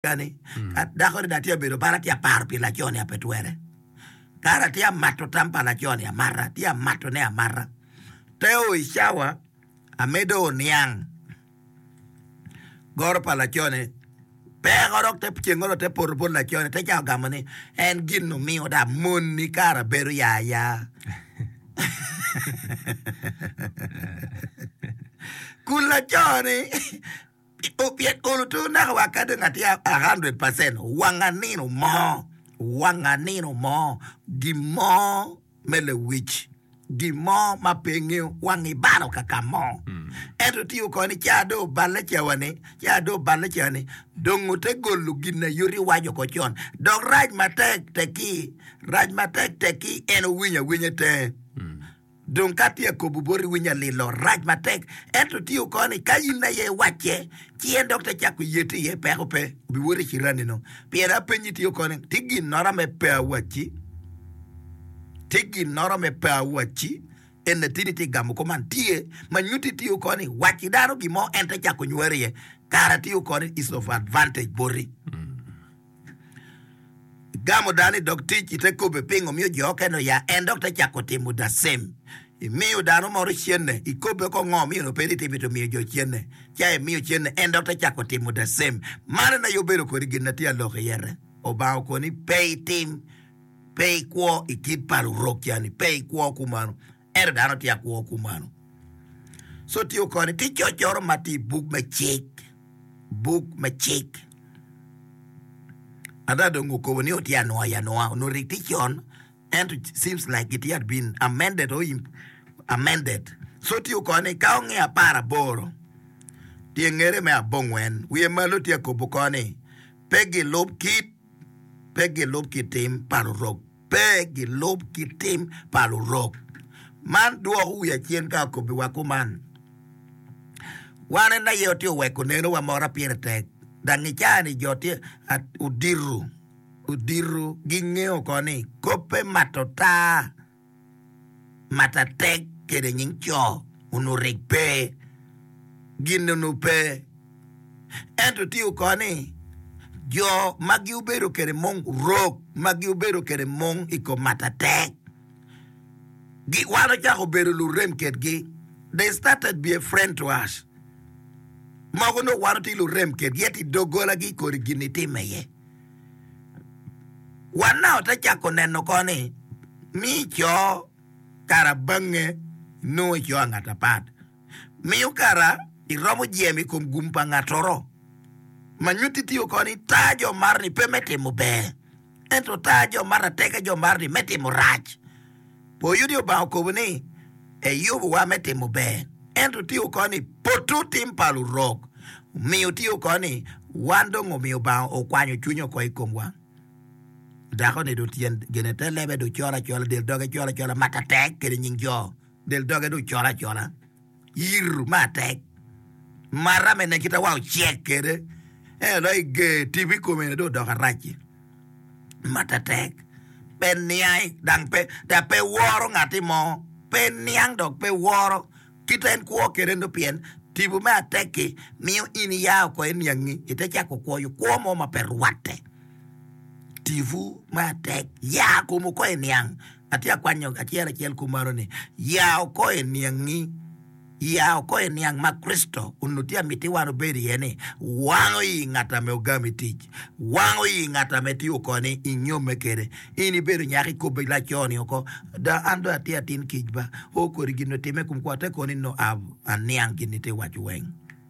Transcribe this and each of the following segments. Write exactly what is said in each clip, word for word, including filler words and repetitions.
Ni, dako ni dong atye abedo bala atye aparo pi laco ni ape twere. Kara atye amato tam pa laco ni amata, atye amato ne amata. Te o i cawa amedo oniang goro pa laco ni peko dok te ceng oro te poto bot laco ni te cako gamo ni en gin omiyo dong amoni kara bedo ya ya. Kun laco ni Pien olo to naka wa ka dong atye a hundred percent wanga nino mo, wanga nino mo, gin mo me lewic, gin mo ma pe ingeyo wang ibalo ka ka mo. Ento tye oko ni ca dong oballe cawa ni, ca dong oballe cawa ni, dong ote golo gin ayoti iwaco oko con. Dok rac matek tekki, rac matek tekki en owinyo awinya tenge. Dong ka atye akobo boti winyo alilo rac matek, ento tye oko ni ka in aye iwacce, ci en dok te cako yeti iye, peko pe, obiwoto i cirani-nu. Pien apenyi tye oko ni, tye ginnoro me pe awacci? Tye ginnoro me pe awacci? En latinni tye gamo kuman, tye ma nyutti tye oko ni wacci dano gin mo en te cako nyweri iye, kara tye oko ni is of advantage boti. Igamo dano i dog tic ite kobbe pingo miyo jo okene oya en dok te cako timo the same. Imiyo dano moro cene ikobbe ko ngo miyo onongo pe itimo ito miyo jo cene ca imiyo cene en dok te cako timo the same. Man en aye obedo kodi gin na tye alok iyete. Obanga okoni pe itim pe ikwo i kit pa lurok cani pe ikwo kumano ento dano tye akwo kumano. So tye okoni tye cocoro ma tye i buk me cik buk me cik. Ada dong okobo ni otye anwoya anwoya onongo rik tye con ento seems like it had been amended or amended so tye okone ni ka onge apar aboro tye ngere me abongwen wiye malo tye akobo oko ni pe gilub kit pe gilub kit tim pa lurok pe gilub kit tim pa lurok man dwoko wiya cen ka okobiwa kuman. Wan en aye watye oweko nenowa mora pire tek dang i caa-ni jo tye odito odito gingeyo oko ni koppe mato taa mato atek kede nying co onongo rik pe gin onongo pe ento tye oko ni jo ma giobedo kede mung rok ma giobedo kede mung i kom mato atek Wan ocako bedo lurem kedgi, they started be a friend to us. Mogo nongo wan watye lurem kedgi ento i doggolagi kodi gin itimme iye. Wan na ote cako neno ko ni mi co kara bange nongo ico ngat apat. Miyo kara iromo jemo i kom gum pa ngatoro ma nyutti tye oko ni tar jo marni pe me timo ber. Ento tar jo mato ateka jo mato-ni me timo rac. Po yudi Obanga okobo ni eyubowa me timo ber, ento tye oko ni poto tim pa lurok. Omiyo tye oko ni wan dong omiyo Obanga okwanyo cwinye oko i komwa. Dako-ni dong tyen gine te lebe dong col acola, del doge col acola, mato atek kede nying jo, del doge dong col acola. Yir me atek mara me nen kit ma wang ocek kwede ento dong i ger tipo i kome dong odoko arac-ci. Mato atek pe niang dang pe dok pe woro ngatti mo pe niang dok pe woro kit en kwo kwede nongo pien tipo me atek-ki miyo in iya oko iniangi ite cako kwoyo kwo mo ma pe rwatte. Tipo me atek ya kom oko iniang. Atye akwanyo acel acel kumalo ni, Ya oko i niangi, ya oko i niang ma Kricito onongo tye amiti wan obed iye ni, wango i ngat ame ogami tic, wango i ngat ame tye oko ni inyomme kede. In ibedo nyako ikobbe laco ni oko, da an dong atye atin kic ba, o kodi gin otime kom kwa te koni no aniang gin itye waco weng,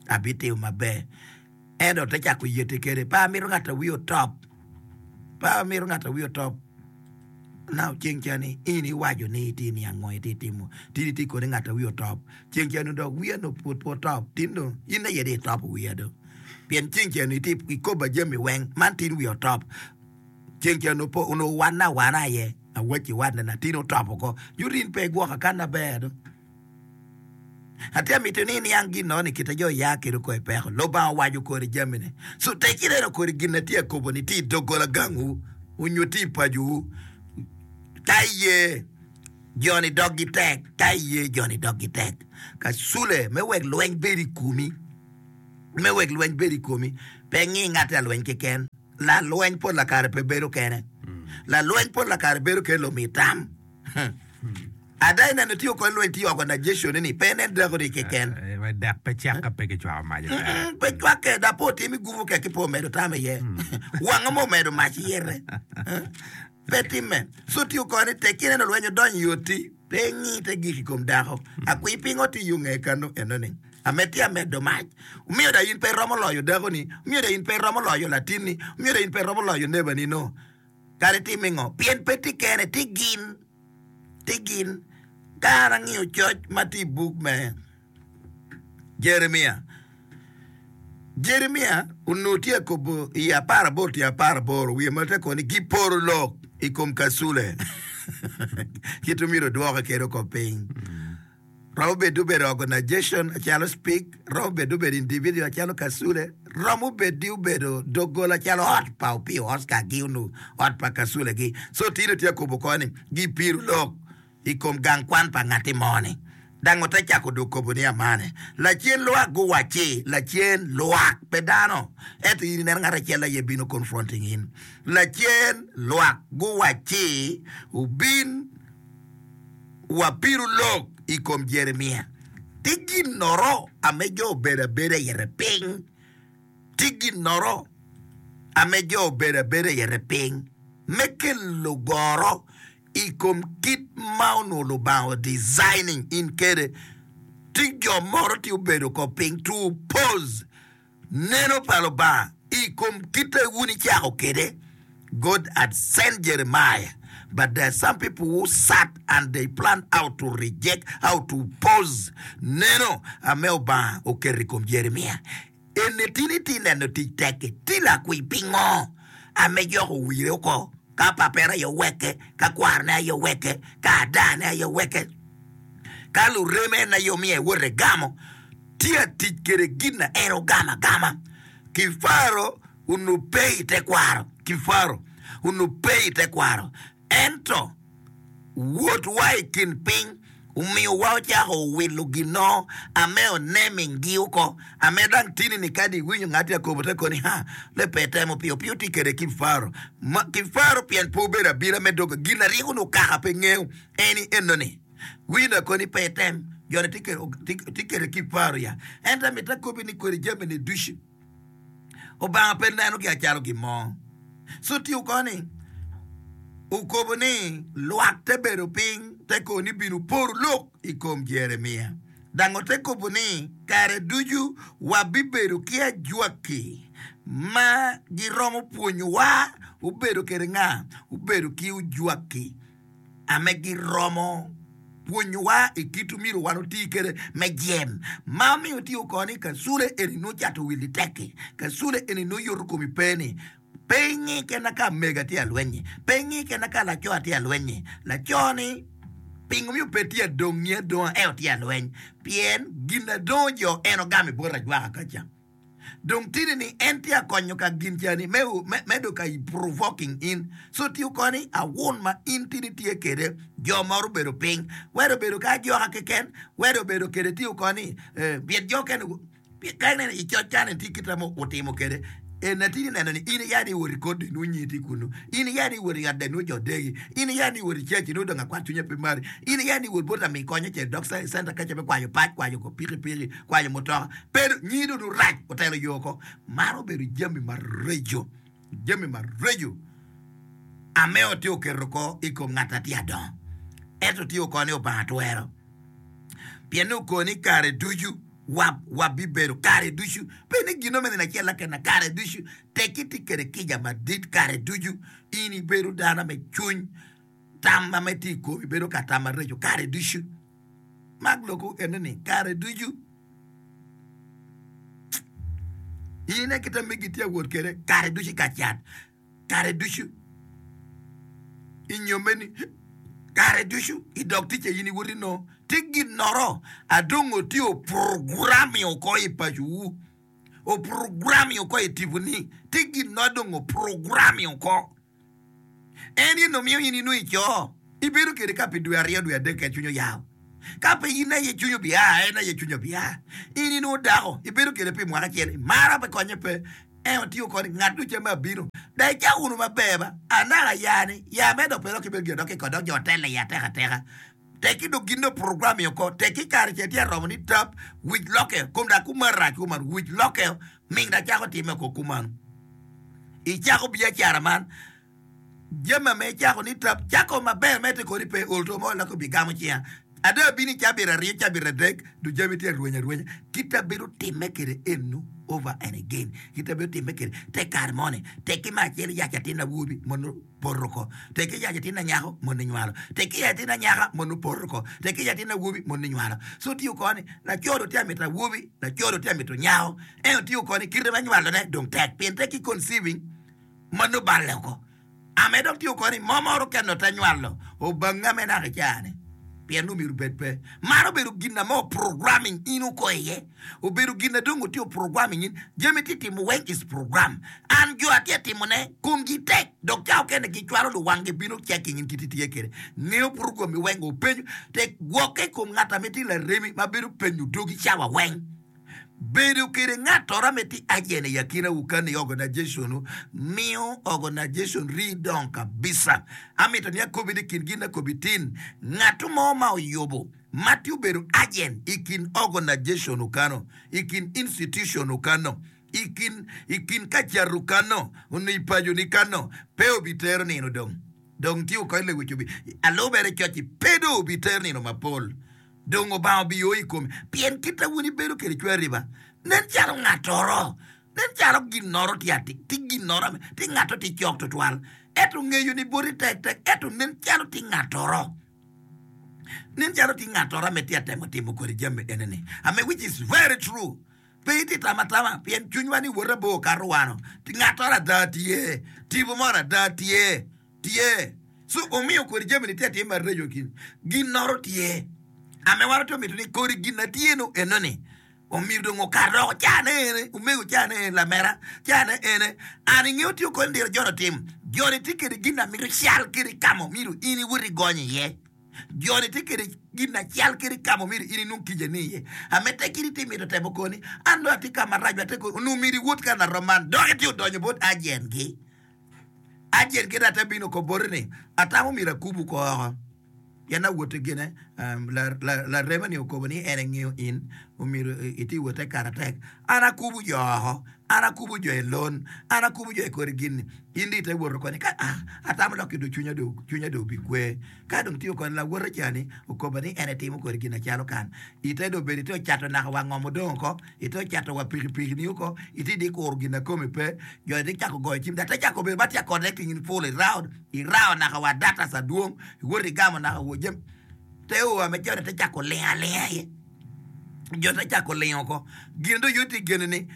abitimo maber. Ento te cako yete kede, pe amito ngat a wiye otop, pe amito ngat a wiye otop. Now ceng ca ni in iwaco ni itye niang ngo itye timo, tin itye kodi ngat a wiye otop. Ceng ca ni dok wiya nongo pud pe otop, tin dong in aye dong itopo wiya do. Pien ceng ca ni itye ikoba jami weng, man tin wiya otop. Ceng ca nongo po onongo wana awana aye, awacci wane na tin otop oko. Nyuto in pe igwoka kan aber do. Atye amito ni iniang gin no ni kite jo ya kede oko i peko. Lubanga owaco kodi jamine. So tek ineno kodi gin na tye akobo ni tye i doggola gangwu onyo tye i pacowu. Ka iye joni doggi tek, ka iye joni doggi tek. Ka cule me wek lweny bed i komi. Me wek lweny bedo i komi, pe ingi ngat lalweny keken. Lalweny pol lakare pe bedo kene. Lalweny pol lakare bedo kene lumi tam. Ada ineno tye oko lweny tye organization ni pe inen dako ni keken. Dek pe cek ka pe kicwako mac. Pe cwakke da po timi gubo kek ki po medo tam iye. Wanga mo medo mac iyere. Pe timme. So tye oko ni tek ineno lweny odonyo i oti pe ingi te gik i kom dako. Akwir pingo tye yo nge kano eno ni. Amedde amedo mac. Omiyo da in pe iromo loyo dakoni, omiyo da in pe iromo loyo latinni, omiyo da in pe iromo loyo nebani no. Kadi itime ngo? Pien pe tye kene, tye gin. Tye gin. Ka an angiyo coc ma tye i buk me Jeremia, Jeremia onongo tye akobo i apar aboro tye apar aboro wiye ma te koni giporo lok i kom kacule kit myero odwoke kede oko piny. Romo bedo obedo organization acalo speak, romo bedo obedo individual acalo Kasule, romo bedi obedo doggola acalo ot pa Opio Oscar gi onongo ot pa Kasule gi. So tino tye akobo ko ni gipiro lok i kom gang kwan pa ngati mo ni. Dang ote cako dong kobo ni amane. Lacen lwak guwacci, lacen lwak pe dano, ento in ineno ngat acel aye bino confronting in. Lacen lwak guwacci obin Wapiru lok i kom Jeremia. Tye ginnoro ame jo obedo abeda ite piny. Tye ginnoro ame jo obedo abeda ite piny me kelo goro i kom kit ma onongo Lubanga o designing in kede. Tye jo moro tye obedo ko piny to oppose Neno pa Lubanga i kom kite wun icako kede. God had sent Jeremiah, but there are some people who sat and they planned how to reject, how to oppose neno ame Obanga oketo i kom Jeremia. Eni tin itye neno tic tekki, ti lakwiny pingo ame joko owire oko, ka papere aye oweke, ka kwarone aye oweke, ka adane aye oweke, ka lureme en aye omiyo ewoto egamo. Tye atic kwede gin na en ogamo agama. Kifaro onongo pe i tekwaro. Kifaro onongo pe i tekwaro. Ento wotwa i kin piny omiyowa ocako wilo ginno ame onemingi oko. Ame dang tini-ni kadi iwinyo ngat Yakobo te koni, Ha, le pe temo piyo piyo tye kwede kifaro. Ma kifaro pien pe obedo abila me dog gin aryeko onongo kaka pe ngeyo eni enoni. Wino koni pe item, joni tye kede ki paro ya. Ento amito akobi ni kodi jami-ni ducu Obanga pe nenogi acalo gin mo. Co tye koni okobo ni lwak te bedo piny te koni bino poro lok i kom Jeremia. Dang ote kobo ni kare ducu wabibedo ki ajwaki ma giromo pwonyowa. Obedo kede nga? Obedo ki ojwaki. ame giromo pwonyowa i kit omyero wan oti kwede me jem ma omiyo tye oko ni kacule eni nongo cato wil itekki, kacule eni nongo yoto komi pe ni pe ingi kena ka amego atye alwenyi, pe ingi kena ka laco atye alwenyi, laco ni pingo miyo pe tye adongi adonga ento tye alweny pien gin adongo jo en ogamo i bot ajwaka kaca. Dong tini ni en tye akonyo ka gin cani me me do ka provoking in so tiyo koni awun ma in tini tye kede jo moro obedo piny wede obedo ka ajoka keken wede obedo kede tiyo koni eh, pien jo kene ka ineno i coc kani tye kite mo otimo kede en atini neno ni in iya ni iwot i kod inwo nyi tye kunu in iya ni iwot i ot inwo jo degi in iya ni iwot i church inwo dong akwat cwinye pe mari in iya ni iwot bot lami kony acel dok center kaca me kwayo pac kwayo ko pikipiki kwayo mutoka Pe nyingi dong rac otelo yo oko. Man obedo jami maraco, jami maraco ame otye oketo oko i kom ngat a tye adongo. Ento tye oko ni Obanga twero. Pien ni okoni kare ducu wabibedo kare ducu. Pe ni gino me nino acel lakena kare ducu. Tekki tye kede kica madit kare ducu. In ibedo dano me cwiny. Tam ma tye i komi bedo ka tam maraco kare ducu. Mak lokwu ene ni kare ducu in inen kit ma megi tye awot kwede kare ducu i kacat, kare ducu i nyommeni, kare ducu i dog ticca in iwoti nongo tye ginnoro adongo tye oprogrammi oko i pacowu, oprogrammi oko i tiponi, tye gin adongo oprogrammi oko. En aye nongo miyo in inongo i co, ibedo kwede ka pi dwe aryo dwe adek keken cwiny oyawo. Ka pe in aye cwinyi obia, en aye cwinye obia. In inongo dako, ibedo kwede pi mwaka acel, imara pe konye pe. En otiyo kodi ngat ducu ma abino. Dong icako wunu maber ba, anaka ya-ni, ya me dok pe dok ibedo gin dok kikod dok jo otelle iye atek ateka. Tekki dong gin dong program-mi oko, tekki kare ce tye aromo ni tap, wic lokke, kom dok kuman rac kuman, wic lokke, ming dok cako timme oko kumano. Icako biacara man, Jami ma icako ni tap cako maber medde kodi pe ol to mo laki obigamo cinga. Ada abino i cabit aryo cabit adek du jami tye arweny arwenya kita bedo timme kede enu over and again kita bedo timme kede te kare mo ni tekki me acel yac atin awobi mono poto oko tekki yac atin anyako mono inywalo tekki yac atin anyaka mono poto oko tekki yac atin awobi mono inywalo so tiyo koni laco do tye amito awobi laco do tye amito nyako ento tiyo koni kite me nywalo ne dong tek pien tekki conceiving ma nongo balle oko. Ame dok tye oko ni mo moro kene ote nywalo obanga me naka ica-ni pien nongo myero obed pe. Man obedo gin na mo programming in oko iye. Obedo gin na dong otye programming in. Jami tye timo weng is program. An jo atye timone komgi tek dok ca okene gicwalo luwanggi bino checking in kit itye kwede. Ngeyo program-mi weng openyo tek gwokke i kom ngat ame tye laremi ma bedo penyo dogi cawa weng. Bedo kede ngattoro ame tye agent i akinawu kany i organization-nu miyo organization rii dongo kabisa. Amito ni akobi ni kin gin akobi tin, ngatto mo ma oyubo ma tye obedo agent i kin organization-nu kano, i kin institution-nu kano, i kin i kin ka catu kano, onyo i paco-ni kano, pe obitero nino dong. Dong tye okony lewic obi alubere coc-ci pe dong obitero nino mapol. Dong Obanga obio i kome, pien kit a wun ibedo kede cwari ba, nen calo ngattoro, nen calo ginnoro tye atir, tye ginnoro ame, tye ngatto tye cok twatwal, ento ngeyo ni boti tek tek, ento nen calo tye ngattoro, nen calo tye ngattoro ame tye atemo timo kodi jami ene-ni, ame which is very true. Pe itye tam atama, pien cwinywa ni wot abor kato wano, ngattoro ada tye, tipo moro ada tye. Tye. So omiyo kodi jami ni tye atir maraco ki ginnoro tye. Ame wan watye mito ni kodi gin na tye no eno ni omyero dong okat oko. Ca ne ene, omego ca ne ene, lamera ca ne ene. An ingeyo tiyo kodi ndiro joni otim. Joni tye kede gin na mito cal kede kamo myero in iwot igonyo iye. Joni tye kede gin na cal kede kamo myero in inong kica ni iye. Ame tek in itye mito temo koni, an dong atye kama rac ate koni, onongo myero iwot ka na rom man dok itye odonyo bot ajen gi. Acel kit ate bino oko boti ni, Atamo myero akubu oko oko. Pien awotte gine, larema ni okobo ni en engeyo in, omyero iti wotte kare atek. An akubu jo oko, an akubu jo i lon, an akubu jo i kodi gin-ni. In dong ite woto koni ka ah, atamo dok ki dong cwinya dong cwinya dong obikwe. Ka dong tiyo koni lawote ca-ni okoba ni en etimo kodi gin acalo kan. Ite dong obedo ite ocato naka wa ngom odong oko. Ite ocato wa pikipiki-ni oko, ite di kuro gin a kome pe, jo ite cako goyo cim, dok te cako bedo ma tye ka connecting in full i round, irao naka wa datas adwong, iwoto igamo naka wa jami, te o ame joni te cako lingo alinga iye, jo te cako lingo oko, gin dong yot igene ni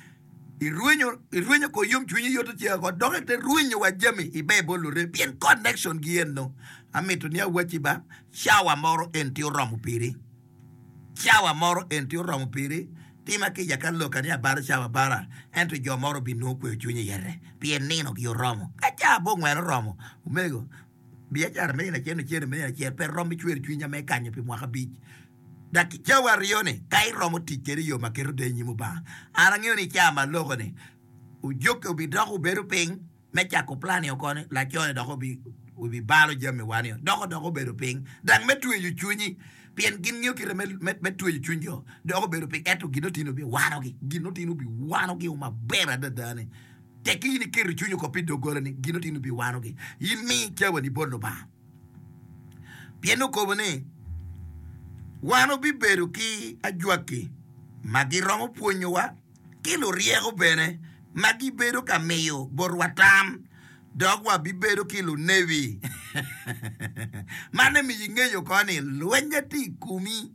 irwenyo irwenyo ko yomcwinyi yoto ceng oko dok ite rwenyo wa jami iber bot lurem pien connection gi eno amito ni awacci ba cawa moro en tye oromo piri. Cawa moro en tye oromo piri, tima kica ka loka ni abalo cawa abala, ento jo moro obinongo kweyo cwiny iyete, pien ninogi oromo. Ka cawa abongwen oromo, omego, biacara me nino acel nyo cente me nino acel pe rom ki cwero cwinya me kanyo pi mwaka abic. Dok cawa aryo-ni, ka iromo tic kwede i yo ma keto deyo i nyim Lubanga, an angeyo ni i cawa ma aloko-ni, ojokke obidoko obedo piny, Me cako plan-ni oko ni laco-ni dok obibalo jami wa-ni dok dok obedo piny dang me tweyo cwinyi pien gin ngeyo kite me tweyo cwiny jo dok obedo piny ento gin otino obiwanogi gin otino obiwanogi maber adada ni tekki in iketo cwinyi oko pi doggola-ni gin otino obiwanogi in mi cawani bot Lubanga pien okobo ni wan obibedo ki ajwaki ma giromo pwonyowa ki luryeko bene ma gibedo ka miyo botwa tam, dok wabibedo ki lunebi. Man emiyo ingeyo oko ni lweny tye i komi,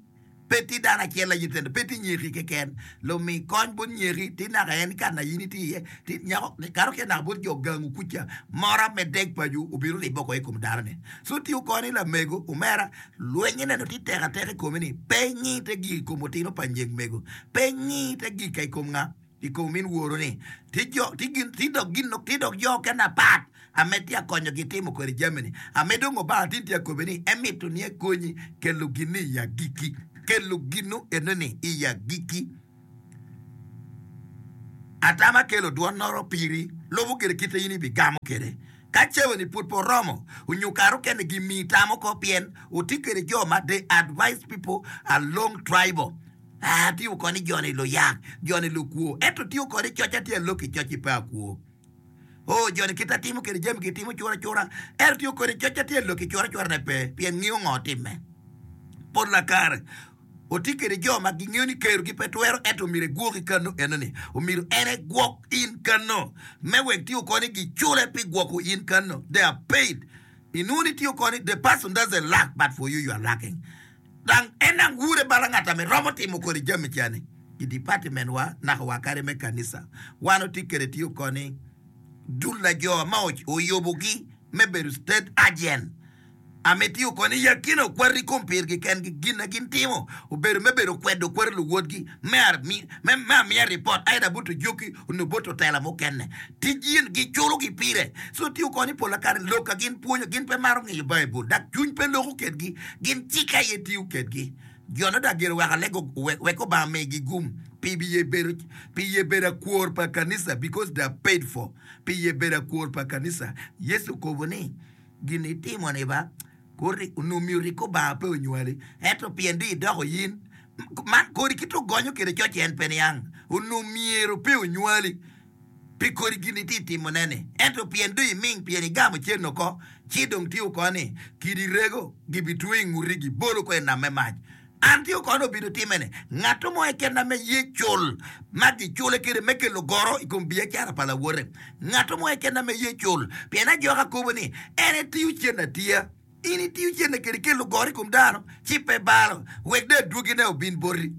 pe tye dano acel aye tye, pe tye nyeki keken. Lumi kony bot nyeki tye naka en ka na in itye iye, tye nyako kato ki naka bot jo gangu kuca, mora me deg paco obino ribbe oko i kom dano-ni. So tye oko ni lamego, omera, Lweny ineno tye tek ateka i komi ni pe ingi te gik i kom otino pa nyeg mego, pe ingi te gik i kom nga? I kom omin woru ni. Ti jo, ti gin, ti dok gin, ti dok jo okene apat Ame tye akonyogi timo kwede jami-ni. Ame dong Obanga tin tye akobe ni emito ni ekonyi kelo gin-ni i agikki. Kelo gin-nu eno-ni i agikki. Atama kelo dwonnoro piri, lubo gire kite in ibigamo kwede. Ka cawa-ni pud pe oromo, onyo kare okene gimiyi tam oko pien otye kwede jo ma they advise people along tribal. Ah, tiyo koni jo-ni luyak, jo-ni lukwo, ento tiyo kodi coc atye alok i coc-ci pe akwo. Oh, jo-ni kit atimo kwede jami gitimo cura cura, ento tiyo kodi coc atye alok i cura curane pe, pien ngiyo ngo timme. Pol lakare otye kwede jo ma gingeyo ni kerogi pe twero ento myero egwoki kano enoni. Omyero en egwok in kano me wek tiyo koni gicule pi gwoko in kano. They are paid. Inwongo ni tiyo koni the person doesn't lack but for you you are lacking. Dang en dang wure bala ngat ame romo timo kodi jami cani i department wa naka wa kadi me kanisa. Wan otye kwede tiyo koni dul lajo ma oyubogi me bedo state agent. Amitiyo kono i akina okwati kom pirgi kengi, gin na gin timo obedo me bedo kwedo kwati luwotgi me me amiya ripot either bot ojoki onyo bot otela mukene. Tic yen giculogi pire. So tiyo kono i pola kare lok ka gin pwonyo gin pe maro ngeyo Baibul dok cwiny pe loko kedgi gin cik aye tiyo kedgi. Jo no dok gire wek alego wek Obanga omigi gum pi ye bedo pi ye bedo akwor pa kanisa because they are paid for pi ye bedo akwor pa kanisa. Yecu okobo ni Gin itimo-ni ba, kori onongo myero rik Obanga pe onywali, ento pien dong idoko in, man kodi kit ogonyo kwede coc en pe niang, onongo myero pe onywali pi kodi gin itye timone-ni, ento pien dong iming pien igamo cen oko, ci dong tye oko ni kidi rego gibitweyo i nguti gibolo oko i nam me mac. An tye kono obedo time ni ngat mo keken ma ye cul ma gicule kwede me kelo goro i kom biacara pa lawote. Ngat mo keken ma ye cul pien ajoka kobo ni en etiyo cen atiya. In itiyo cene kede kelo goro i kom dano ci pe balo wek dong adwogine obin boti.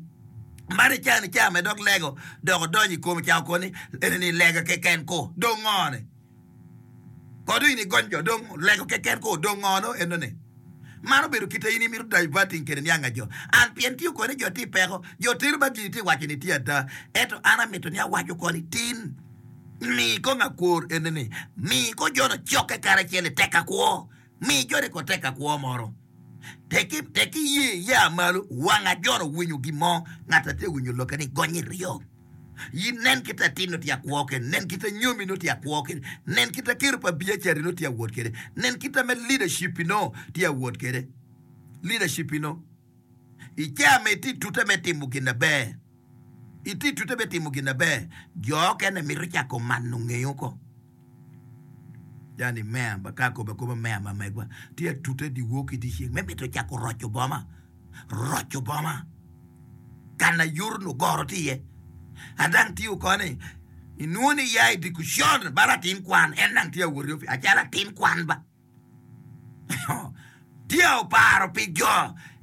Man i cani ca me dok lego dok odonyo i kome cako koni eni ni lega keken ko dong ngo ni. Kod in igony jo dong lego keken ko dong ngo no eno ni. Man obedo kite in imito diverting kede nianga jo. An pien tiyo koni jo tye i peko, jo tero ba gini tye waco ni tye ada. Ento an amito ni awaco koni tin mi kong akwor ene ni mi ko jono cokke karacel i tek akwo. Mi joni ko tek akwo moro. Teki teki ye ya malo wanga jono winyo gin mo ngat atye winyo lokke ni gony iryo. In nen kit atin nongo tye akwo kwede, nen kit anyomi nongo tye akwo kwede, nen kit akero pa biacara nongo tye awot kwede, nen kit ame leadership nongo tye awot kwede. Leadership nongo i caa ma itye tute me timo gin aber, itye tute me timo gin aber, jo okene mito cako mano ngeyo ko. Yani meya ba ka akobo akoba meya ma megwa tye atute dyewor ki dyeceng me mito cako roco boma. Roco boma ka na yoto nongo goro tye iye. Adang tye oko ni inwongo ni ya i dikucon balo atin kwan en dang tye awot i opic acalo atin kwan ba tye oparo pi jo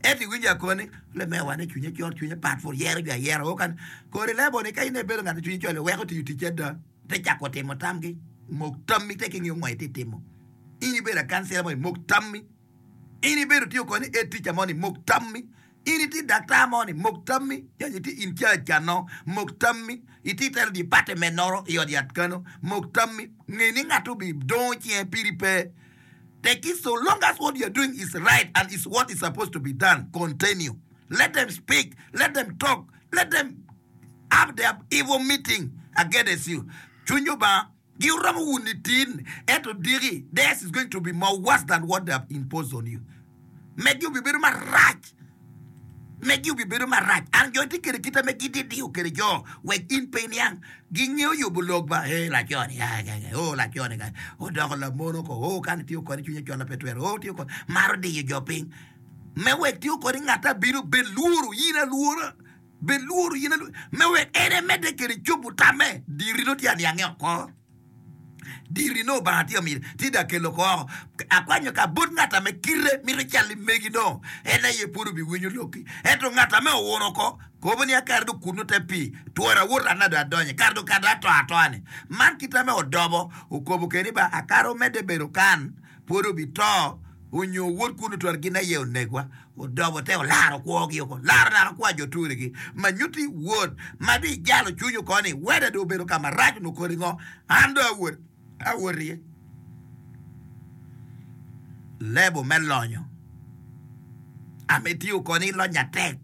ento iwinjo akoni ni lamewa ni cwinye col cwinye pat pud yero jo ayera o kan kodi lebo ni ka in ibedo ngat ma cwinye col iweko tiyo ticce ada te cako timo tamgi mok tammi te ki ngiyo ngo itye timo in ibedo akancila mo imok tammi. In ibedo tye oko ni e tica moni, mok tammi. In itye daktar moni, mok tammi. Nyo itye in charge kano, mok tammi. Itye itelo department noro i ot yat kano, mok tammi. Nge ni ngat obi dongo cinge piri pe. Tekki so long as what you are doing is right and is what is supposed to be done, continue. Let them speak, let them talk, let them have their evil meeting against you. Cwiny Lubanga Giromo wuni tin, ento diki, theirs is going to be more worse than what they have imposed on you. Megi obibedo marac. Megi obibedo marac. An jo itye kede kita me gididiyo kede jo wek in pe iniang. Gingeyo yubo lok ba, hey, laco-ni, ah, ah, ah, oh, laco-ni, ah, odoko lamono ko, oh, kan itiyo kode cwinye col pe twero, oh, tiyo kode, maro diyo jo piny. Me wek tiyo kode ngat abino bed lworo, in alwora. Bed lworo in alwora me wek en emedde kwede cobo tamme. Diri nongo tye aniange oko. Diri nongo Obanga tye amito, tye da kelo oko oko. Akwanyo ka bot ngat ame kite mito cal i megi nongo en aye pud obiwinyo lokki. Ento ngat ame owuno oko, kobo ni akare dong kunnu te pii, twero awoto an dong adonyo, kare dong kare dong ato atoa-ni. Man kite ame odobo, okobo keni ba akare omedde bedo kan. Pwod obito onyo wod kunu twero gin aye onegwa. Odobo te olaro kwogi oko. Laro naka kwa jo turigi. Ma nyutti wod ma dong ijalo cwiny oko ni weda dong obedo ka marac onongo kodi ngo? An dong awot awot iye. Lebo me lonyo. Ame itiyo koni ilonyo atek,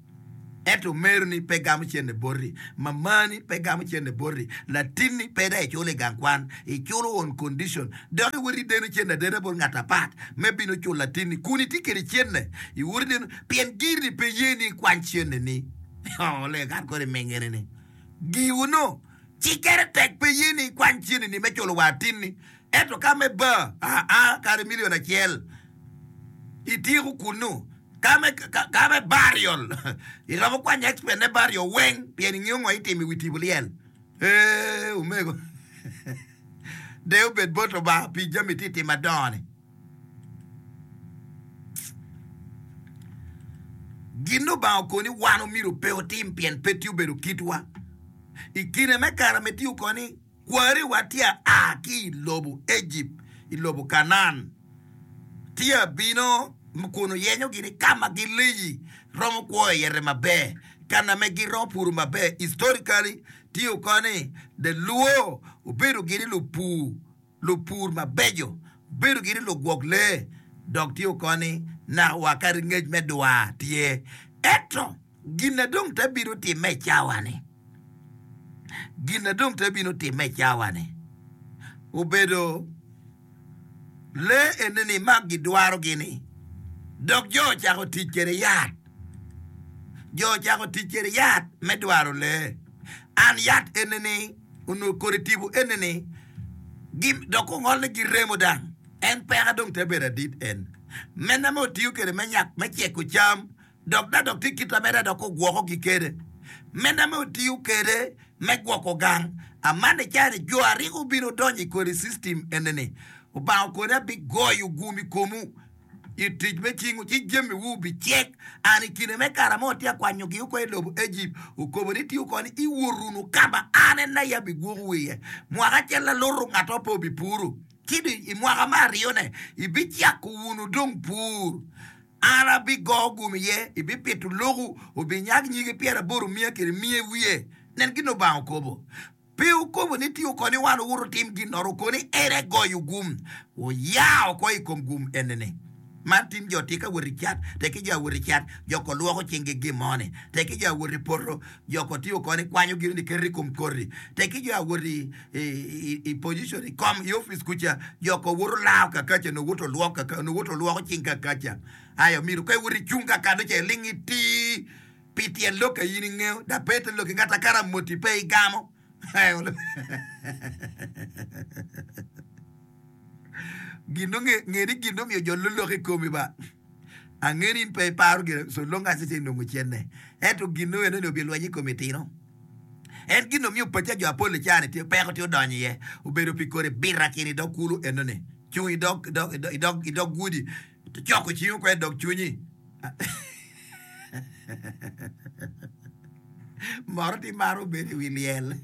ento omeroni pe gamo cente boti, mamani pe gamo cente boti, latinni pe dong iculo i gang kwan, iculo on condition, dok iwoto ideno cente adena bot ngat apat me bino culo latinni kun itye kwede cente, iwoto ideno pien giri-ni pe ye ni ikwany centeni. Oleg an kodi mingini-ni giwu-nu. Cikkere tek pe ye ni ikwany cenini me culo wa atinni, ento ka me bar, aa, kadi milion acel ityeko kunnu. Ka me, ka me burial, iromo kwanyo expense ne burial weng pien ingeyo ngo itimo i wi tipo lyel. Ee, omego, deyo obed bot Lubanga pi jami itye timo adongo-ni. Gin Lubanga okoni wan omyero pe otim pien pe tye obedo kitwa. I kine me kare ma itiyo koni, kwariwa tye a ki i lobo Ejipt, i lobo Kanaan, tye a bino kun oyenyo gini ka ma gileyi romo kwo iye maber, ka ma giromo puro maber. Historically, tiyo koni, the Luo obedo gini lupur. Lupur mabeco bedo gini lugwok lee dok tye okoni naka wa kadi ngec me dwar tye. Ento gin na dong te bino timme i cawa-ni, gin na dong te bino timme i cawa-ni obedo lee eni-ni ma gidwarogi-ni dok jo ocako tic kwede yat, jo ocako tic kwede yat me dwaro lee. An yat eni-ni onongo kodi tipo eni-ni dok ongol ni giremo dang en peka dong te bedo adit en mene ma otiyo kede me nyak me ceko cam dok da dok tye kita mere dok ogwoko gi kede mene ma otiyo kede me gwoko gang amane cani jo ariko obino donyo i kodi system eni-ni Obanga okone abigoyo gum i komu i tic me cingwu, ci jamiwu bicek. An i kine me kare mo atye ka kwanyogi oko i lobo Ejipt, okobo ni tiyo koni, iwot wunu ka ma an en aye abigwokowu iye. Mwaka acel aluto ngat mo pe obipuro, ci dong i mwaka me aryone ibicako wunu dong pur. An abigo gum iye, ibipito loku, obinyak nyige pyeraboro miya kede miya wiye. Nen gin Lubanga okobo. Pe wukobo ni tye okoni wan wuwot wutim ginnoro okoni en aye goyo gum, wuya oko i kom gum enini. Man tim jo tye ka wot i cat, tek ki jo awot i cat, jo ko lwoko cinggi gin mo ni, tek ki jo awot i poto, jo ko tye okoni kwanyo gin ni keto i kom koti, tek ki jo awot i, i, i position i kom i opic kuca, jo ko woto lao kakaca nongo woto lwoko kaka nongo woto lwoko cing kakaca. Ayo myero ka iwoto icung kakano ca iling iti. Pi tyen lok ka in ingeyo, dok pe ite lok ki ngat akara moti pe igamo. Gin nongo nge ni gin omiyo jo lolok i komi ba. Ange ni in pe iparo gire so long as ite nongo cenne. Ento gin nongo eno ni obilweny i komi tino. En gin omiyo paca jo apol i caa-ni tye peko tye odonyo iye. Obedo pi kodi bita kini i dog kulu eno ni. Cung i dog i dog i dog gudi coko cingi oko i dog cwinyi. Moro tye maro bedo i wi lyel,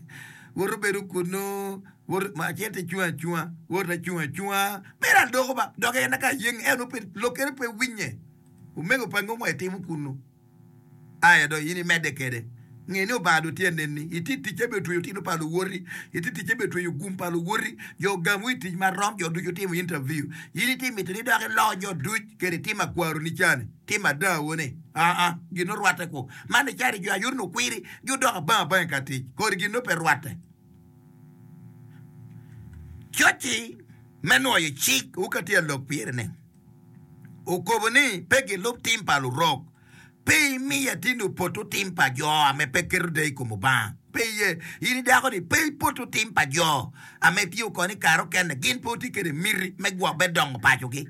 woto bedo kunnu, woto acel tye cung acunga, woto acung acunga, bedo aloko ba dok en ka yeng en pe lokkene pe winye. Omego pa ngo itimo kunnu? Aya dong in imedde kwede. Nge ni Obanga dong tye ka neni. Itye i ticce me tweyo tino pa luwoti. Itye i ticce me tweyo gum pa luwoti. Jo ogamwu i tic marom, jo ducu timo interview. In itye mito ni dok ilo jo duc kede itim akwaroni cani, tim adawu-ni. Aa, gin nongo rwatte ku. Man icalo jo ayot nongo kwiri, gudok abang abang i ka tic. Kodi gin nongo pe rwatte. Coc-ci me nwoyo cik wu ka tye alok pire-ni, okobo ni pe gilub tim pa lurok. Pe imiya tino opoto tim pa jo ame pe keto deyo i kom Obanga. Pe iye, in i dako-ni, pe ipoto tim pa jo ame tiyo koni kare okene, gin pe wutye kede miti me gwok me dongo pacogi.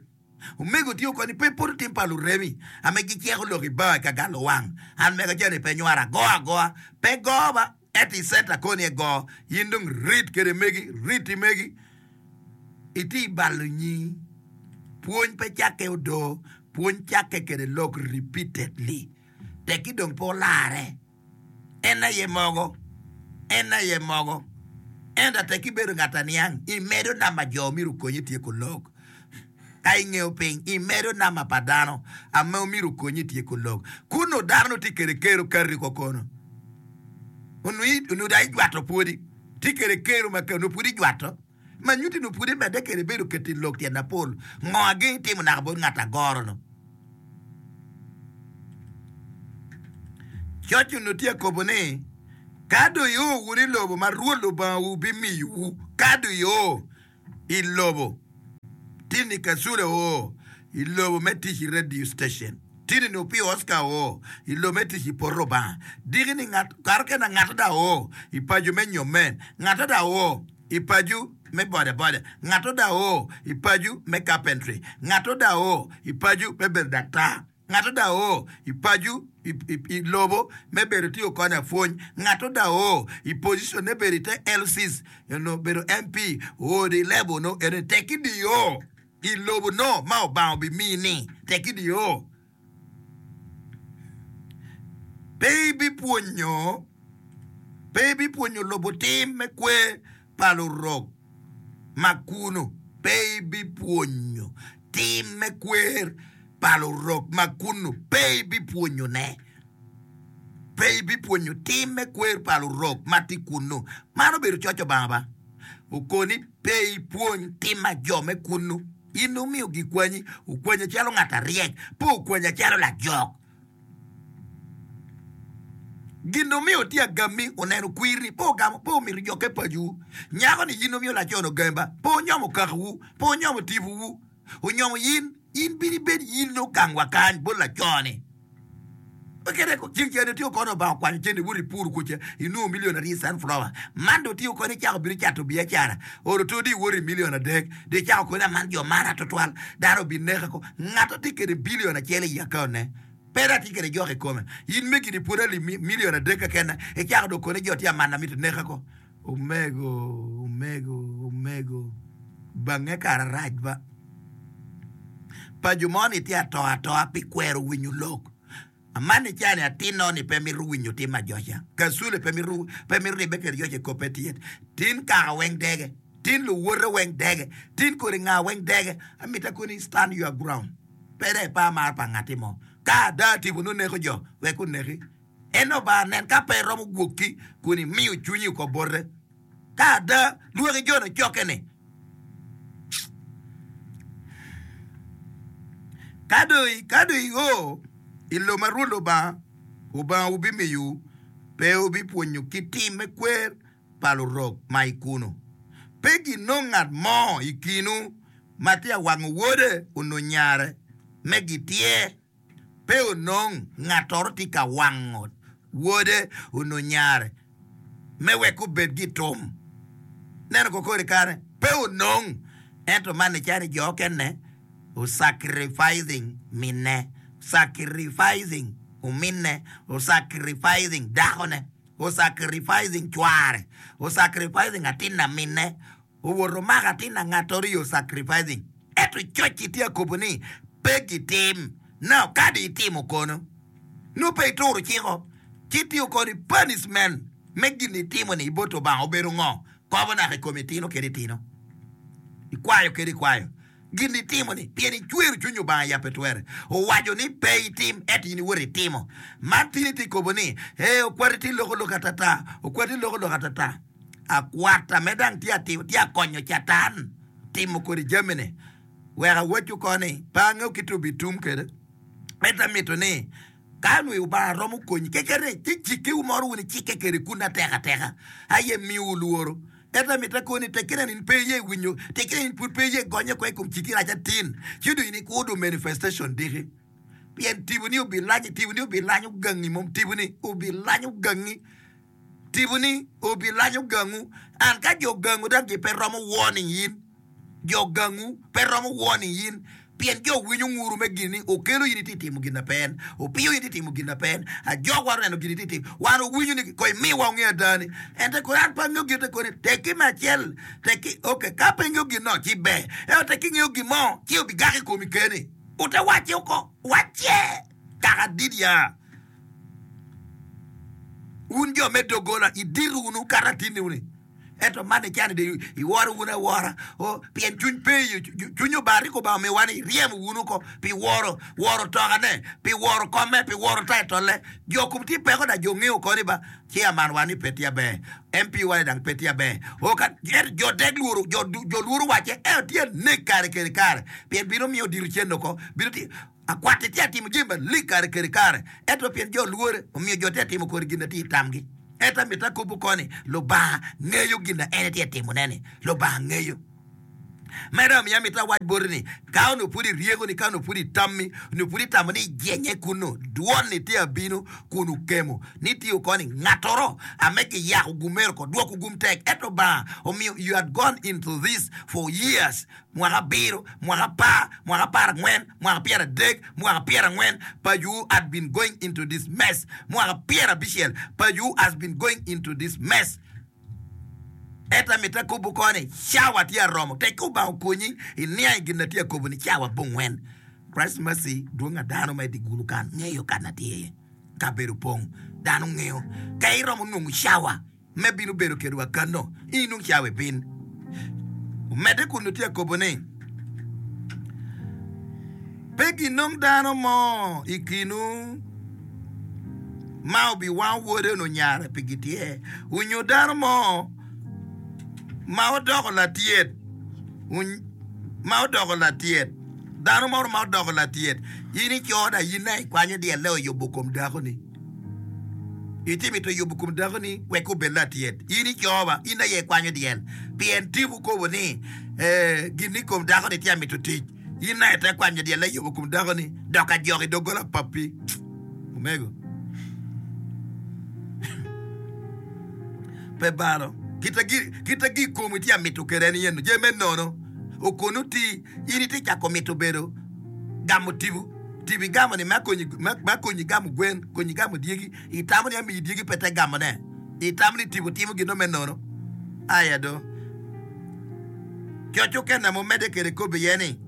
Omego tiyo koni, pe ipoto tim pa luremi ame giceko lok i bar i ka galo wang. An mega jani pe nywara, ago agoa, pe go ba, ento i centa koni ego, in dong rit kede megi, rit i megi. Itye i balo nyingi. Pwony pe cakke odoo, pwony cakke kede lok repeatedly. Tekki dong pe olarre. En aye mogo, en aye mogo. Ento tekki ibedo ngat aniang, imedo namba jo myero okonyi ityeko lok. Ka ingeyo piny, imedo namba pa dano ame myero okonyi ityeko lok. Kun dano nongo tye kede kero kati kokono. Onongo dong ijwato pwodi. Tye kede kero ma onongo pud ijwato. Ma nyuti no pud imedde kede bedo keto i lok tyen mapol. Ngo ageng itimo naka bot ngat agoro-nu? Coc onongo tye akobo ni, Ka dong io wunu i lobo ma Rwot Lubangawu bimiyowu, ka dong io i lobo, tini Kasule oo i lobo me tic i radio station, tini ni Opio Oscar oo i lobo me tic i poto Lubanga, diki ni ngat kare okene ngat da oo i paco me nyomme, ngat da oo i paco me boda boda, ngat da oo i paco me carpentry, ngat da oo i paco me bedo daktar. Ngat da oo i paco i lobo me bedo tye okonyo apwony. Ngat da oo i position ne bedo ite L Cs onongo bedo M P oo di level no ene tek idiyo i lobo no ma Obanga obimini tek idiyo. Pe ibipwonyo pe ibipwonyo lobo tim me kwer pa lurok ma kunu. Pe ibipwonyo tim me kwer pa lurok ma kunu. Pe ibipwonyone. Pe ibipwonyo tim me kwer pa lurok ma tye kunu. Man obedo coc Obanga ba. Okoni pe ipwony tim ma jo me kunu. In omiyo gikwanyi, okwanya calo ngat aryek, pe okwanya calo lajok. Gin omiyo tye agammi oneno kwir-ri, pe ogamo, pe omito jokke pacowu. Nyako-ni in omiyo laco-ni ogami ba, pe onyomo kakawu, pe onyomo tipowu, onyomo in, in bino ibed in ogang wa kany bot laco-ni. Kede ceng cene tye okone Obanga okwanyo cene iwoto ipuro kuca inongo milion aryo i sunflower. Man dong tye okone icako bino cato biacara oro to di iwoto i milion adek dong icako kone aman jo mara tutwal dano obineka ko ngato tye kede bilion acel i account ne pe dong atye kede jok i kome in megi ni pwod ali milion adek keken icako dong kone jo tye amana mito neka ko omego omego omego bange kara rac ba paco mo ni tye ato atoa pi kwero winyo lok. Aman icani atinno ni pe mito winyo tim ajoca. Kasule pe mito pe mito ribbe kede joca i koppe tyet. Tin kaka weng dege. Tin luwote weng dege. Tin kodi nga weng dege. Amita koni stand your ground. Pe dong ipa mar pa ngatti mo. Ka ada tipo nongo neko jo, wek oneki. En Obanga nen ka pe romo gwokki kun imiyo cwinyi oko bote. Ka ada lwaki jo-ni ocokke-ni, ka dong ka dong io i lobo ma Rwot Lubanga Obangawu bimiyowu, pe wubipwonyo ki tim me kwer pa lurok ma i kunnu. Pe ginong ngat mo i kinwu ma tye ka wango wode onyo nyare me gityer. Pe onong ngattoro tye ka wango wode onyo nyare me wek obed gitum. Neno ko kodi kare pe onong, ento man nicalo ni jo okene osacrificing minne, osacrificing ominne, osacrificing dakone, osacrificing cware, osacrificing atin aminne, owoto omako atin angattoro i osacrificing. Ento coc-ci tye akobo ni pe gitim. Now ka di itimo kono, nongo pe ituro ciko, ci tye kodi punishment me gin itimo-ni i bot Lubanga obedo ngo? Kobo naka i komi itino kede itino, ikwayo kede ikwayo. Gin itimo-ni pien icwero cwiny Lubanga ya pe twere. Owaco ni pe itim, ento in iwoto itimo. Man tye tye kobo ni, ee, okwati tye loko lok atata, okwati loko lok atata. Akwata me dang tye atimo, tye akonyo Catan timo kodi jami-ni. Wek awaccu ko ni, pe angeyo kit obitum kwede, ento amito ni ka nongo Lubanga romo konyi keken ni ci cikkewu moro wun icikke kwede kun atek ateka aye miyowu lworo. Ento amito akoni ni tekkine ni in pe iye winyo, tekkine ni in pud pe iye gonye oko i kom cikki rac atin, ci dong in ikudo manifestation diki. Pien tiponi obilanyo, tiponi obilanyo gangi mom, tiponi obilanyo gangi. Tiponi obilanyo gangu, and ka jo gangu dok gipe romo warning in, jo gangu pe romo warning in, pien jo winyo nguru me gin ni okelo in itye timo gin na pe en, opiyo in itye timo gin na pe en, ajok wan oneno gin itye timo, wan owinyo ni ko imiwa onge ada ni, ento kore an pe angeyo gin te koni, tekki me acel, tekki, ok, ka pe ingeyo gin no ci ber, ento tekki ingeyo gin mo ci obigak i komi keni, ote wacce oko, wacce kaka dit ya. Wun jo me doggola, idito wunu kato atinniwu-ni. Ento man icani de iworo wunu awora. O, pien cwiny pe iyo, cwiny Obanga rik Obanga omiyowa ni iryemo wunu oko pi woro, woro tokane, pi woro komme, pi woro taitolle. Jo kom tye peko da jo ngeyo oko ni ba chairman wa ni pe tye aber, M P wa ni dang pe tye aber. O, ka, ento jo dek lworo, jo, jo lworo wacce, ento tye anek kare kede kare, pien bino miyo odiro cen oko, bino tye akwatti tye atimo jami malik kare kede kare, ento pien jo lwore, omiyo jo tye atimo kodi gin na tye i tamgi. Ento amito akobo koni, Lubanga ngeyo gin na en tye atimone-ni. Lubanga ngeyo. Medo omiyo amito awac boti ni, ka onongo pud iryeko-ni, ka onongo pud itammi, onongo pud itamo ni ijenye kunnu, dwon-ni tye abino kun okemo, ni tye okoni ngatoro ame giyako gumero oko, dwoko gum tek. Ento Lubanga omiyo you had gone into this for years, mwaka abiro, mwaka apar, mwaka apar angwen, mwaka pyeradek, mwaka pyerangwen, but you had been going into this mess, mwaka pyerabicel, but you has been going into this mess. Ento amito akobo koni, cawa tye aromo, tek ka Obanga okonyi iniang i gin na tye akobo ni cawa abongwen. Christ mercy dwong a dano ma i dye gulu kan ngeyo kan na tye iye, kabedo opong, dano ngeyo. Ka iromo nongo cawa me bino bedo kedwa kano, in inong cawa ibin. Omedde kun tye akobo ni, pe ginong dano mo i kinwu ma obiwango wode onyo nyare pi gityer, onyo dano mo ma odoko latyet, ma odoko latyet, dano mo ma odoko latyet, in icoda in aye ikwanyo dyelle oyubo kom dakoni. Itye mito yubo kom dakoni wek obed latyet. In icoba, in aye ikwanyo dyel. Pien tipo kobo ni, eh, gin i kom dakoni tye amito tic. In aye te kwanyo dyelle yubo kom dakoni, dok ajok i doggola papi. Omego. Pe balo. Kita gi, kita gi komi tye amito kede en yeno. Jami me nono. Okonu ti, in itye cako mito bedo gamo tipo. Tipo igamo ni me konyi, me konyi gamo gwen, konyi gamo dyegi. Itamo ni amiyi dyegi pe te gamone. Itamo ni tipo timo gin me nono. Aya do. Coc okene ma omedde kede kobo iye ni,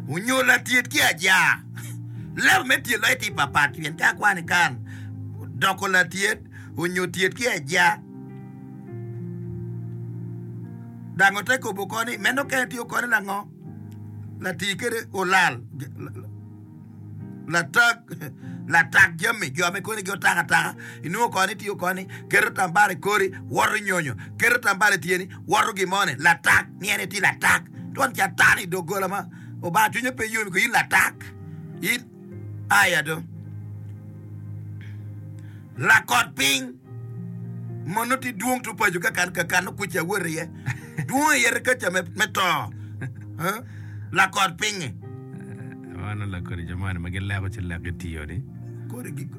onyo latyet ki ajar. Leb me tyet loyo tye papat pien ka akwano kan doko latyet onyo tyet ki ajar. Dango te kobo koni meno kene tiyo koni lango lati kede olal latak latak jami jo ame koni gi otako ataka inongo koni tiyo koni keto tambara i kori woto nyonyo keto tambara i tyeni woto gimoni latak ni en tye latak twon catan i doggola ma Obanga cwinye pe yom i in latak in aya do lakot piny mono ti dwong tu paco ka kan ka kan kuca awot iye dwong iye kaca me, me to eh? Lakot pinyi Mano lakodi jo moni ma gileko ci lek gitiyo ni. Kodi gi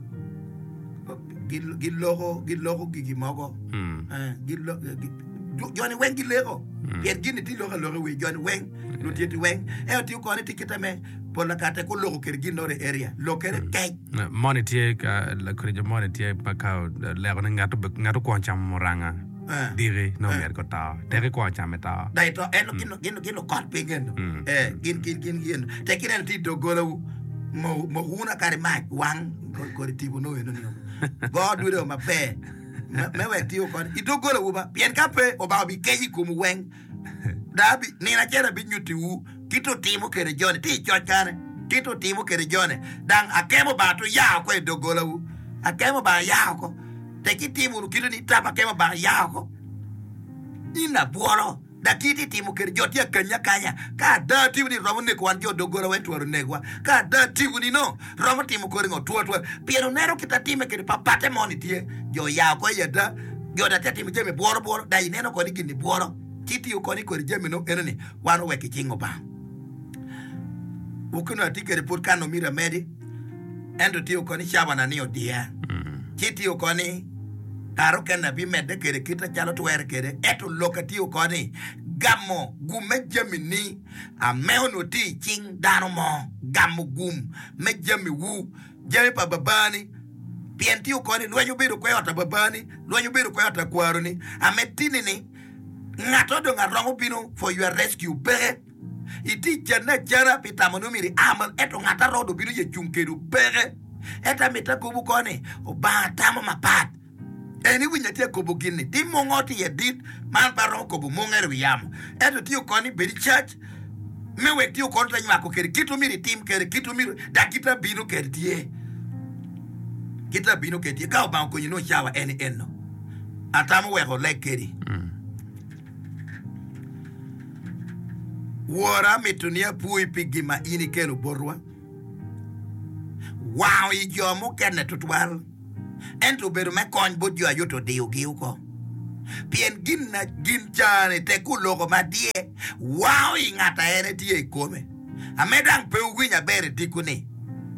gi- giloko giloko gigi mogo. Mm. Eh, gilo- gi- jo- joni weng gileko pien gini ti loko aloka i wi joni weng lutyeti weng ento tiyo koni ti kite me pol kare kuloko kede gin nore area lokere kec. Moni tye ka lakodi jo moni tye ma ka oleko ni ngat ngat okwongo camo muranga Eh. diki nongo myero ko to teki kwongo camo ito. Dai to en gin gin gin okot piny eno. Mm. Eh, gin gin gin gin tek ineno ti dogolawu mo mo wuna kare mac wang kodi tipo no eno ni go dude maber me me wek tiyo kodi i dogolawu ba pien ka pe Obanga obikeco i komwu weng da abi nino acel abinyutiwu kit otimo kede joni ti i coc kane kit otimo kede joni dang akemo Obanga to ya oko i dogolawu akemo Obanga ya oko tek itimo wunu kite ni tap akemo Obanga ya oko in abwolo da kit itimo kede jo tye akanyi akanya ka ada tipo ni romo neko wan jo doggola weng twero negwa ka ada tipo ni no romo timo kodi ngo two two pien oneno kit atime kede papate moni tye jo ya oko i ada jo da tye atimo jami bwolo bwolo da ineno kodi gini bwolo ci tiyo koni kodi jami no eno ni wan owek i cing Obanga wukino atye kede pud kan omiro amedi ento tiyo koni cawana ni odiya ci tiyo koni kare okene abimedde kede kite calo twere kede ento lok atiyo koni gamo gum me jami ni ame onongo tye i cing dano mo gamo gum me jami wu jami pa babani pien tiyo koni lweny obedo kwe ot a babani lweny obedo kwe ot a kwaroni ame tini ni ngato dong aromo bino for your rescue peke iti canne acana pi tamo ni omyero ia malo ento ngat arodo obino ye cung kedu peke ento amito akobo koni Obanga tamo mapat En iwinyo atye akobo gin-ni, ti mungo tye iye dit, man pe aromo kobo mungere i wi yamo. Ento tye okoni bed i cac me wek tye okoni te nywako kede kit omyero itim kede kit omyero dok kit abino kede tye. Kit abino kede tye. Ka Obanga okonyi nongo cawa en eno, atamo weko oleg kedi. Wora amito ni apwoyi pi gin ma in ikelo botwa. Wango i jo mukene tutwal. Ento obedo me kony bot jo aye odiyogi oko, pien gin ca-ni tek oloko ma dye wango i ngat a en etye i kome. Ame dang pe wuwinyo aber i diko-ni,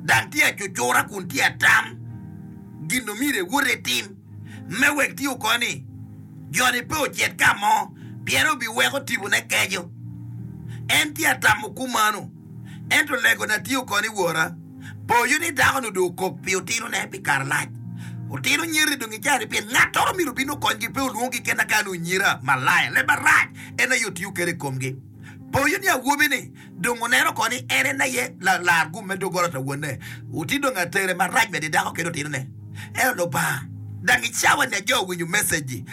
dang tye acucura kun tye atam gin omyero ewot etim me wek tye oko ni jo-ni pe ocit ka mo, pien obiweko tipone keco. En tye atamo kumano, ento legona tye oko ni, Wora, Poyo ni dako-ni dong okok pi otinone pi kare lac. Otino nyeri dong icani pien ngattoro myero obin okonygi pe olwonggi kena ka ni onyira, malaya, leb marac en aye otiyo kwede i komgi. Poyo ni awobi-ni dong oneno ko ni en en aye lalar gum me doggola ta wonne. Oti dong atere marac medo i dako kede otinone. Ento Lubanga, dang i cawa-ni ajo owinyo message-ji.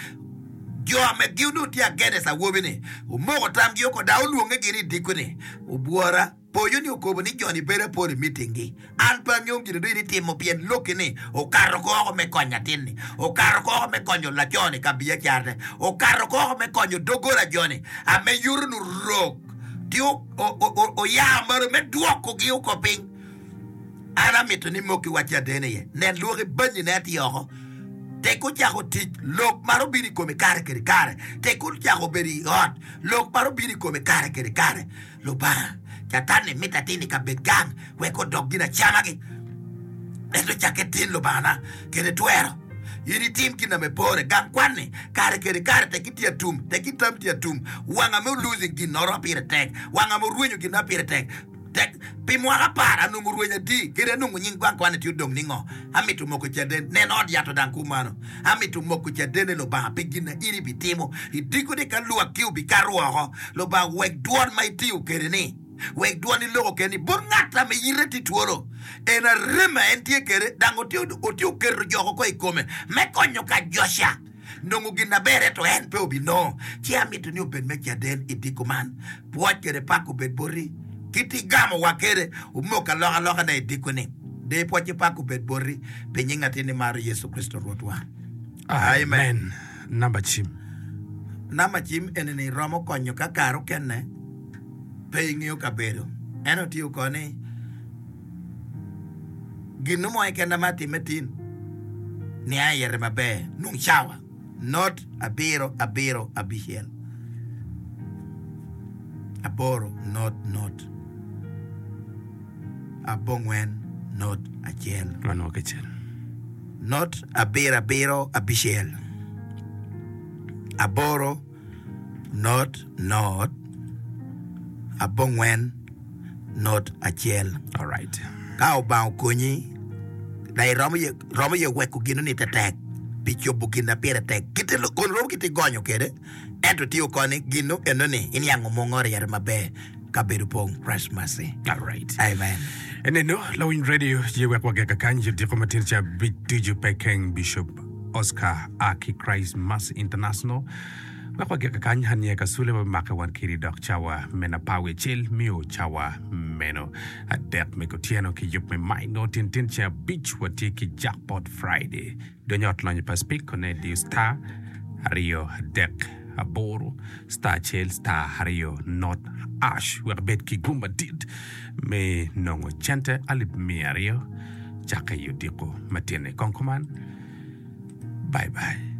Jo megi onongo tye against awobi-ni. Omoko tamgi oko dok olwonge gin i diko-ni. Obwora. Poyo ni okobo ni joni bedo apol i mitinggi. An pe angeyo gin adong in itimo pien lokki ni okato koko me konyo atin-ni, okato koko me konyo laco-ni ka biacarane, okato koko me konyo doggola joni a me yuto-nu rok ti oya malo me dwokogi oko piny. An amito ni mokki wa caden iye. Nen lwoki banyine atir oko. Tek ocako tic, lok maro bino i kome kare kede kare. Tek ocako bedo i ot, lok maro bino i kome kare kede kare. Lubanga, Catan-ni mito atin i kabed gang wek odok ginacamagi. Ento cakke tin, Lubangana, kede twero, in itim gin ame pore. Gang kwan-ni, kare kede kare tek itye atum, tek itam tye atum. Wang ame olosing ginnoro ma pire tek, wang ame orwenyo gin ma pire tek. Tek pi mwaka apar anongo rweny adi, kadi anongo nying gang kwan-ni tye odong ningo? Amito moko caden, nen ot yat odang kumano. Amito moko caden ni Lubanga pi gin na in ibitimo. I diko-ni ka lwakki obikato woko, Lubanga wek dwon ma itiyo kwede-ni, wek dwon iloko kwede-ni bot ngat ame yite tye twolo. En arem ma en tye kwede, dang otye oketo jok oko i kome me konyo ka Joca nongo gin maber ento en pe obinongo. Ci amito ni obed me caden i diko man. Pwoc kede pak obed boti. Kit igamowa kede, omok alokaloka-ne i diko-ni. Deyo pwoc ki pak obed boti pi nying atinni maro Yecu Kricito Rwotwa. Amen. Namba cim. Namba cim eni-ni romo konyo ka kare okene pe ingeyo kabedo. Ento tye oko ni gin mo keken ma atimme tin nia iyete maber nung cawa not abiro abiro abicel aboro not not abongwen not acel. Wanwo kicel. Not abiro abiro abicel aboro not not abongwen not acel. Alright. Ka Obanga okonyi, dok iromo ye, romo ye weko gino-ni tetek pi cobo gin ma pire tek. Kite kun romo kite igonyo kwede, ento tye okoni gino enoni iniango mungo ryere maber kabedo pong. Christ mercy. Alright. Amen. Eneno, lawiny radio ye wek wageka kany odiko matin ca abic ducu pe keng Bishop Oscar a ki Christ Mercy International. Wek wagika kany, an nye Kasule wabimake wan kiri dok cawa meno apar wiye acel mio cawa meno adek me kutyeno ki yub me minor tyen tyen ceng abic watye ki Jackpot Friday. Donyo ot lonyo pa Spik kone diyo star aryo adek aboro star acel star aryo not ash wek ibed ki gum madit me nongo cente alip miya aryo cakke i odiko matin-ni. Kong kuman, bye bye.